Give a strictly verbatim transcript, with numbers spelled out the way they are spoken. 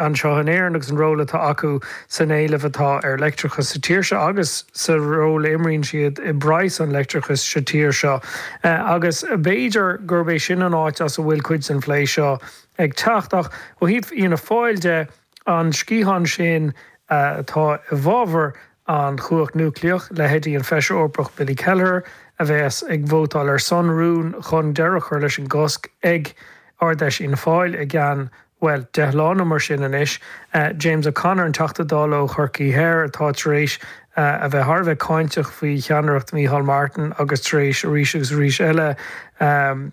anseo in Éirinn agus an ról atá acu san éileamh atá ar leictreachas sa tír seo agus sa ról a imríonn siad i bpraghas an leictreachais sa tír seo. Agus b'fhéidir gurb é sin an áit as a bhfuil cuid den phlé seo ag teacht ach ó thaobh Fhianna Fáil de, an sciathán sin atá i bhfabhar an chumhacht núicléach, leithéidí an Feisire Eorpach Billy Kelleher a bheas ag vótáil ar son rún chun deireadh a chur leis an gcosc ag Ard-Fheis Fhianna Fáil i gceann, bhuel, deich lá nó mar sin anois. James O'Connor, an Teachta Dála ó Chorcaí Thoir atá tar éis a bheith thar a bheith cáinteach faoi cheannaireacht Micheál Martin agus tar éis arís agus arís eile